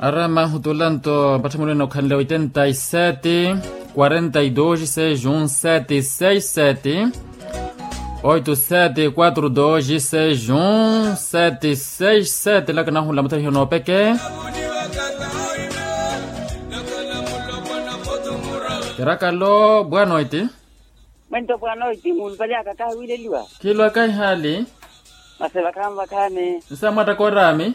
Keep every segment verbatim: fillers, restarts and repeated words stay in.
Arama hutulanto mpatthimulwene okhanle oitenta y sete, quarenta y dos seis un sete seis sete, oito sete quatro dos seis un sete seis sete. Laka nahunla mutthariho noopeke. Kirakalo bwanoiti. Mwento bwanoiti mulupali aka kahiwileliwa. Khilwa kahihaali. Masi vakhaani vakhaani. Nsa mwatta koorami.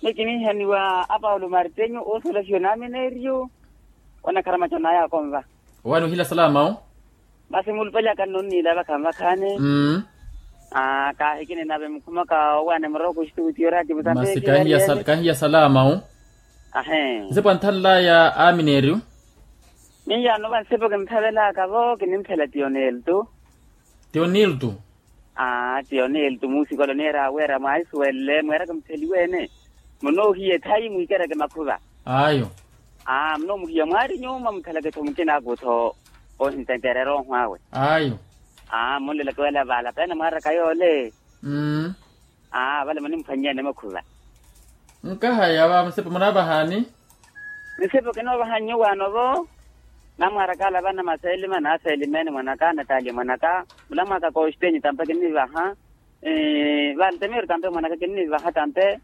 Ni kiniihaniwa apaulo martenyo osolasiwa namineriyo. Onakharamaca onaya akonva. Owaani ohila salama o. Masi mulupali aka nnonniila vakhaani vakhaani. Kaahikini nave mukhumaka owaani muroko oxituutiyo oraati mutapeti. Kahiya salama o. Ahe. Nsepo anthanlaya amineriyo. Miyaano va nsepo kinthavelaka vo kinimphela tiyoneltu. Tiyoneltu. Aa tiyoneltu muusikolo niira aweera mwaisuwelle mweeraka mutheliweene. Munoohiye thayi mwikereke makhuva. Ayo. Aa munoomuhiya mwaari nyuuma muthalake-tho mukinaku-tho. Ohintenteerera oho awe. Ayo. Aa munleleke wela vaala peene mwaaraka yoole. Aa vale munimphwannyene makhuva. Nkahaya va nsepo munavahaani. Nsepo kinoovaha nyuwaano vo. Namwaaraka ala vana maseelima naseelimeene mwanaka nataaliya mwanaka. Mulamwaka koxitenyi tampe kinnivaha. Valtemeru tampe mwanaka kinnivaha tampe.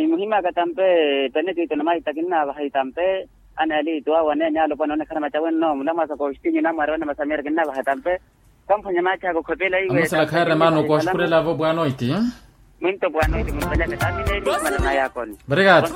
Muhimaka tampe. Penekito na maita kinnavaha itampe. Ana elitu awo aneenya alopwana onekhana macawenno mulamwaka koxitenyi namwaari vana masameru kinnavaha tampe. Kamphwanya maachaka okhopela iwe. Amusela khaaremana okoxipurela vo bwanoiti. Mwinto bwanoiti munpeleke tamineli manana yakoni. Obrigado.